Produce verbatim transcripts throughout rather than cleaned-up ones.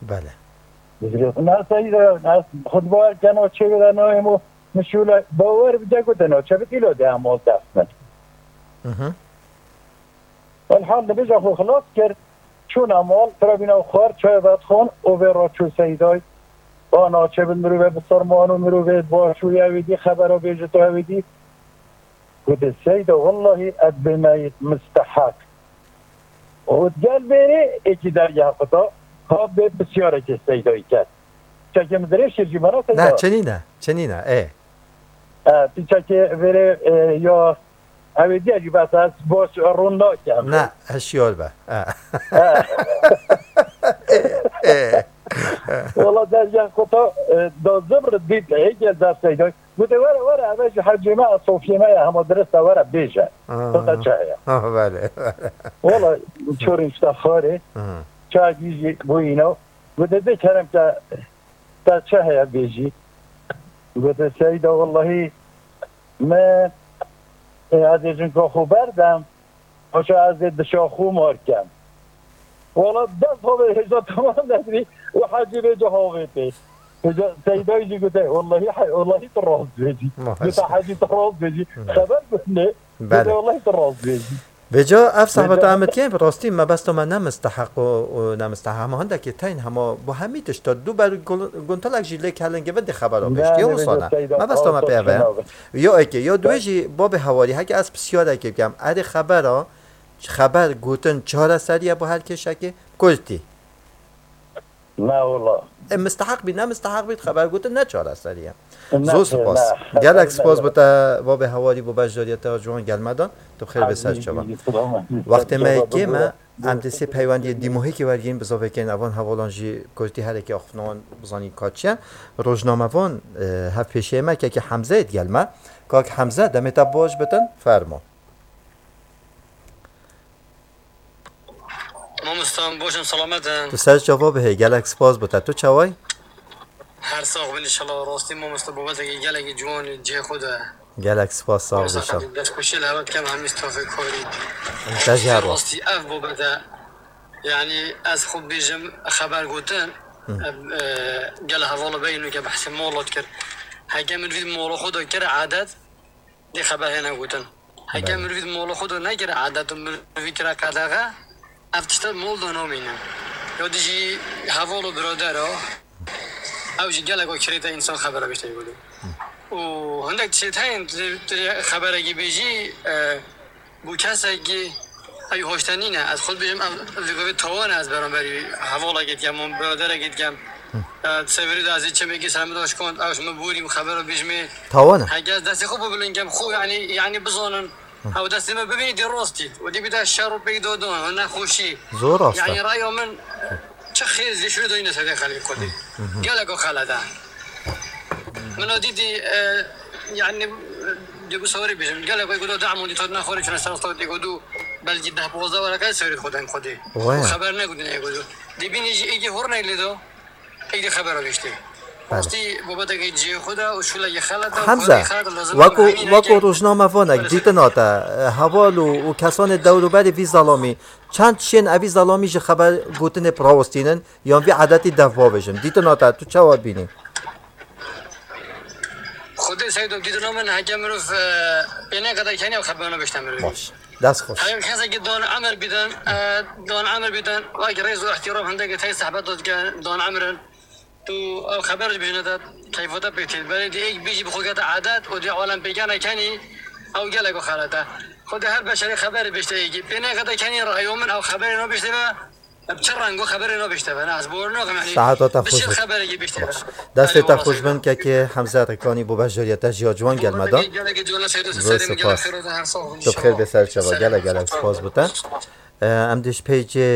Belê. Dizgirtin. Na seyda, na xutba keno çê bide nayê mo, mişûle, bawer bide ku te naçe bit îlo de emol dest min. Mhm. Elhamdülillah xwe xilas kir. Çûn emol, tirabîna xwar, çay vedxon, û vê ra çû seyday. Ba naçe bit mirove biserman û mirove baş û ewî dî xebera bêje tu ewî dî. Gote, Seyda, wellahî ez bê meyit misteheq. Û gel bêrê êkî derya xwe da, ha bê pisyarekê Seydayî ket. Çekê min dirêj kir jî bana Seyda. Ne, çinî ne, çinî ne, ê. E, ti çekê vêrê, e, ya ew ê diye jî bes ez baş rûn nakem. Ne, hişyar be. E. Wala derya xwe da, e, da zibr dît, ê gel der Seydayî. Gote, were, were, eve ji hecê me, sofiyê me ye, hema dirist e, were bêje. Xwe da çi heye? Ha, belê. Wala, çorên ji te xarê, Aha. çayekî jî bûyîno. Gote, dê kerem ke te çi heye bêjî? Gote, Seyda, wellahî, me, e, ez ê jinka xwe berdem, paşa ez ê dişa xwe mar kem. Wala dest xwe vê hêja tamam nedibî û hecî vê ca havê tê. Hêja Seydayî jî gote, wellahî, he-, wellahî tu rast bêjî. Maşallah. Gote, hecî tu rast bêjî. Xeber gotine. Belê. Gote, wellahî tu rast bêjî. Vêca ev sehbeta Vêca- em dikin, bi rastî me bes me ne misteheq û, û ne misteheq. Hema hindekî teyn hema bo hemî tişta dû ber gul-, guntelek jî lê kelingê vindî xebera bêjtî. Yo wisana. Me bes me pê ve. Yo eke, yo duê jî babê hewarî, heke ez pisyarekê bikem. Erê xebera, xeber gotin çareserî ye bo her kêşekê? Kurtî. Na wala. E, misteheq bî, ne misteheq bî, xeber gotin ne çareserî ye. Ne, Zor spas. ne, Gelek ne, spas ne. Bo te, babê hewarî, bo beşdariyeta ciwan gelmedin. Tu bi xêr bê ser çava. Wextê me yê kêm e, em dê sê peywendiyê dîmohîkê wergîn, bizavekên evan hevalan jî kurtî herekê axifnawan bizanîn ka çi ye. Rojnamevan, e, hevpêşeyê me, kekê Hemze yê digel me. Kak Hemze, demê te baş bitin, fermo. Mamosta, em baş in, selamet in. Tu ser çava bihê, gelek spas bo te. Tu çaway? Her sax bin inşallah. Rastî mamosta, babetekî gelekî ciwan cihê xwe de. Gelek spas, sağ ol, Mamosta, inşallah. Xelîl, dest xweşî li hevat kem hemî stafê karî. Te jî her rast. Rastî ev babete, yanî ez xwe bêjim xeber gotin, ev, e, gel hevala beyî nûke behsê mola dikir. Heke min vî mola xwe de kir adet, dê xeber hêne gotin. Heke Belê. Mirov di mala xwe de nekir edet û mirov kira qedexe, ev tişt mal de namînin. Ya dijî heval û biradera, ew jî gelek kirêta însan xebera bêjte godo. Û hindek tişt heyên, tu, tu xeberekî bêjî, e, bû kesekî, ew hoşte nîne. Ez xwe dibêjim, ev, ev vê tawan e, ez beramberî hevalekê dikem, wan biraderekê dikem. E, severî de ez ê çemekî ser min de şikand, ew ji min borî, min xebera bêjimê. Tawan e. Heke ez destê xwe bibilind kem, xwe, yanî, yanî bizanin. Ew destê me bibînî dê rastî. Û dê bide şer û pêk dodan, nexweşî. Zor rast e. Yanî raya min, çi xêr zê şûrê doyne sedê xelkê Kurdî. Gelek o xelet e. Min o dîtî, e, yanî, dê ku sewerî bêjim. Gelek o ku do dam û dî tot nexwarî çune ser stawtê ku do belkî deh pozda were qey sewerî xwe den Kurdî. Waya. Xeber ne ku dinê ku do. Dê bînî jî êkî hor neylê do. Êdî xebera bêjtê. Belê. Rastî, babetekê cihê xwe de û şûlekê xelet e û Hemze, karê xelet e, lazim weko, e, weko rojnamevanek, dîtina te, e, heval û, û kesanê dewrûberê vî zelamî, çend şên evî zelamî ji xeber gotinê bi rawestînin, yan vî edetî dev bavêjin? Dîtina te, tu çawa bînî? Xwedê seydo, dîtina min heke mirov, e, pê nêqede kenî ew xebera bêjte mirov. Baş. Dest xweş. Heyv kesekî don emir bidin, e, don emir bidin, wek rêz û îhtîram hindekî tey sehbet dike don emir in. Tu ew xeber ji bijine de keyfota pê tê. Berê dî êk bijî bi xwe kete edet û dî alem pêkene kenî ew gelek xelet e. Xwedê her beşerê xeberê bêjte êkî. Pê nêqede kenî rayo min ew xeberê nabêjte ve. Bi çi rengo xeberê nabêjte ve? Ne, ez bor nakim, yanî Saeta te xweş bişêr bit. Xeberekî bêjte ve. Baş. Destê te xweş bin, kekê Hemze Rekanî bo beşdariyeta jiya ciwan gel me da. Gelekî ciwana seydo. Zor serê min gelek spas. Xêr û her sax bin. Tu bi xêr bê ser çava. Gelek gelek spas bo te. E, em dê ji peycê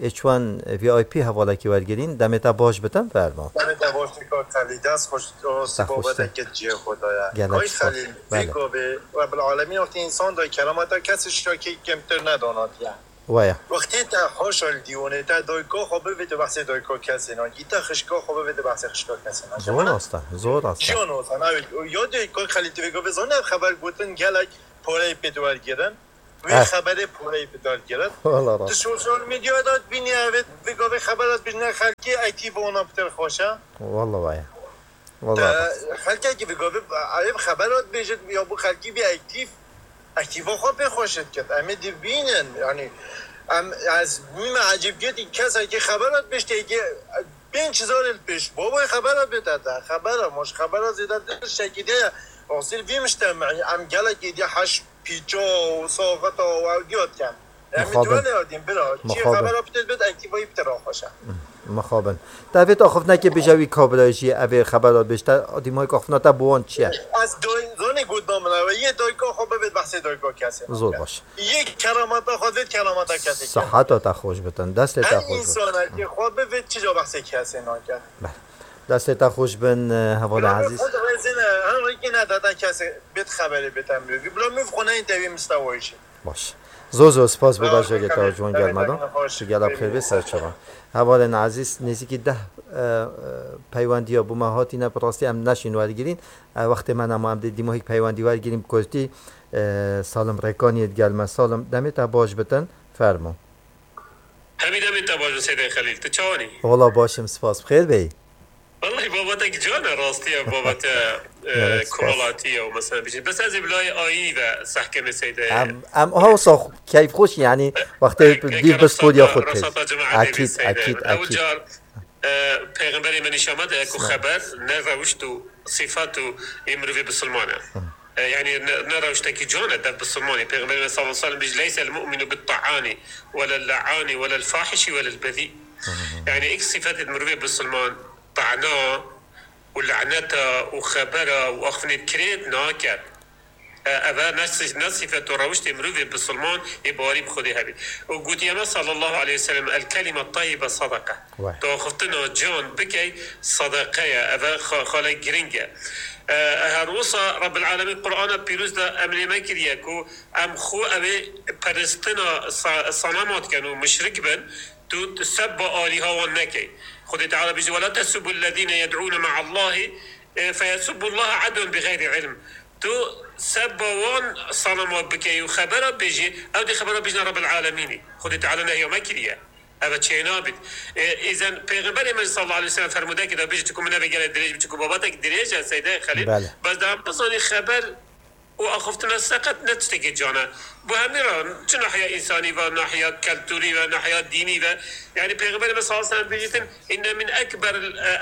H one V I P hevalekî wergirîn. Demê te baş bitin, fermo. Demê te baş bike, Xelîl. Dest xweş, rastî babetekê cihê xwe de ye. Gelek spas. Belê. Kay Xelîl, vê gavê, Rebbil Alemîn wextî însan da kerameta kesê ji kekê kêmtir nedana diye. Waya. Wextê te haşa li dîwanê te dayika xwe bivê, tu behsê dayika kesê nakî, te xişka xwe bivê, tu behsê xişka kesê nakî. Zor rast e, zor rast e. Jiyan rast e, navê, ya dê Kay Xelîl, tu vê gavê zanî ev xeber gotin gelek pareyê pê diwergirin. Wê Eh. xeberê poreyî bi dar giret. Wala Di rast. sosyal medyaya da bînî evê, vê gavê xebera bîne xelkê ektîf ona pitir xweş e. Wala vaya. Wala Te rast. Xelkekî vê gavê ev xebera dibêjit ya bo xelkî bî ektîf, ektîfa xwe pê xweş diket. Em ê dibînin, yani em, ez bûme ecêbgirtî kesekî xebera dibêjtê ki pênc zarê li pêş. Bavê xebera bête te. Xebera, ma ji xebera zêdetir şekî de ye. Asîl vî miştemî, em gelek êdî heş pîça û saxeta û ew diya dikin. Em ê Mixabin. duwelê yadîn bira. Çi Mixabin. xebera bite dibêt, ektîfayî bite raxweşe. Mixabin. Te vêt axiftinekê bêje wî kabirayê jî evê xebera bêjte, dîmahîk axiftina te bi wan çi ye? Ez doy-, zonê got namina we, yê dayika xwe bivêt behsê dayika kesê Zor nake. baş. Yê keramata xwe vêt keramata kesê ke. Siheta te xweş bitin, destê te Her xweş bitin. insanekî xwe bivêt çi ca behsê kesê nake. Bele. Destê te xweş bin, e, hevalê Bila ezîz. xwe dirêzine, her rêkê nedate kesê bêt xeberê bête mirî. Bila mirîv xwe neyên tevî mistewayî jî. Baş. Zor zor spas bo Sağ ol, beşdarî te, Kadir. Ciwan Gelmedan. Demek xweş. Tu gelek xêr bê, ser çava. Hevalên ezîz, nêzîkî deh, e, e, peywendiya bo me hatîne, bi rastî em neşîn wergirîn. E, wextê me nema, em dê dîmahîk peywendî wergirîn, bi kurtî, e, Salim Rêkaniyê digel me. Salim, demê te baş bitin, fermo. Hemî demê te baş be Seydê Xelîl. Tu çawan î? Wala baş im, spas. Bi xêr bêyî. Wellahî babetek can e, rastî ye, babete, e, Gelek spas. komelatî ye û mesela bijî. Bes ez ê bi layê ayî ve sehkemê Seydê. Em, em ha wisa keyfxweş, yanî, wextê E, dîv e, bi stûdiya xwe têz. resata cemaetê Ekîd, Seydê. ekîd, Ew ekîd. car, e, Peyxemberê me nîşan me de ku Sağ ol. xeber ne rewişt û sîfat û ê mirovê bisilman e. E, yani ne, ne rewştekî can e dev bisilmanê. Peyxemberê me sallallahu aleyhi ve sellem bijî, "Leysel mu'minu bit ta'ani, welel la'ani, welel fahişi, welel bezî." Yani ilk sifetê mirovê bisilman, ta'na û laneta û xebera û axiftinê kirêt nake. E, eve ne si-, ne sifet û rewştê mirovê bisilman ê bawerî bi Xwedê hebî. Û gotiye me sallallahu aleyhi ve sellem, "El kelime tayyibe sadaka." Vay. Tu axiftina can bikey, sedeqe ye. Eve xa-, xale giring e. E, her wisa Rabbil Alemîn Qur'ana Pîroz de emrê me kiriye ku em xwe evê peristina sa-, sanema dikin û muşrik bin, tu sebba alîha wan nekey. Xwedê Teala bijî, "Ve la tesubbu lezîne yed'ûne me'allahi, e, feyesubbu Allaha adwen bi xeyrî ilm." Tu sebba wan sanema bikey û xebera bêjî, ew dê xebera bêjine Rabbil Alemînî. Xwedê Teala nehiya me kiriye. Eve çênabît. E, îzen Pêxemberê me sallallahu aleyhi ve sellem fermûdekê de bêjî, çiku min eve gelek dirêj bî, çiku babetek dirêj e, Seydê Xelîl. Bele. Bes de em bizanî xeber û axiftina seqet ne tiştekî can e. Bu hemî re çi nahiya însanî ve, nahiya keltûrî ve, nahiya dînî ve. Yani Pêxemberê me sallallahu aleyhi ve sellem bêjîtin, "Inne min ekber,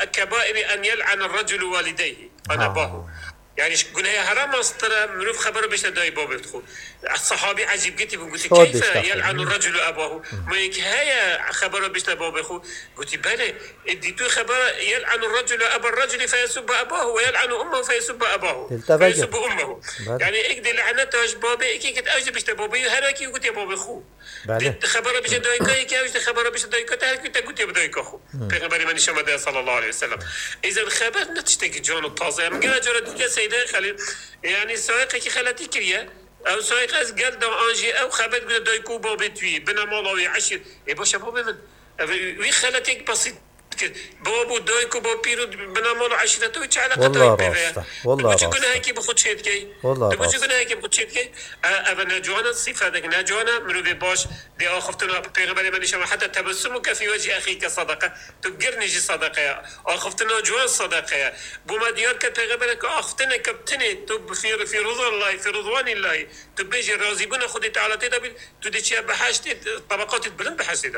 e, kebairi en yel'ane reculu walideyhi." Ana Ha. bahu. Yani ji gunehê hera mestir e, mirov xebera bêjte dayê babê xwe. Sahabî ecêbgirtî bûn, gotî, Şadî "Keyfe işte. yel'anu reculu ebahu?" Ma yek heye xebera bêjte babê xwe? Gotî, "Belê." E, dî tu xebera, "Yel'anu reculu eba reculi feyesubbu ebahu ve yel'anu ummehu feyesubbu ebahu. Dil te veke. Feyesubbu ummehu." Belê. Yani ek dê laneta ji babê, ek ek ew jî bêjte babê, her wekî gotiye babê xwe. Belê. Dê xebera bêje dayika, yekî ew jî dê xebera bêje dayika te, her kî te gotiye bi dayika xwe. Pêxemberê me nîşan me daye sallallahu aleyhi ve sellem. Îzen xeber ne tiştekî can û taze ye. Min gera cara dîtiye Seydê Xelîl. Yani sayiqekî xeletî kiriye. Ew sayiq ez gel da an jî ew xebet bide dayik û babê tu yî, bine mala wî, eşîr. Ê baş e babê min. Ev wî xeletêk besît kir. Bab û dayik û bapîr û bine mal û eşîreta wî çi eleqeta wî Wallah pê ve ye? rast e. Wallah Tu biçî rast e. gunehekî bi xwe çêdikey. Wallah Tu biçî rast e. gunehekî bi xwe çêdikey. E, ev ne ciwan e, sîfetek ne ciwan e. Mirovê baş dê axiftina Pêxemberê me nîşan me, "Heta tebessumu ke fî wecî exîke sadaka." Tu girnî jî sadaka ye. Axiftina ciwan sadaka ye. Bo me diyar ke Pêxemberê ke axiftineke bi tinê tu bi fî, fî rizallahî, fî rizwanîllahî, tu bêjî razîbûna Xwedê Teala tê de bî, tu dê çiye behiştê, tebeqatê bilind behiştê de.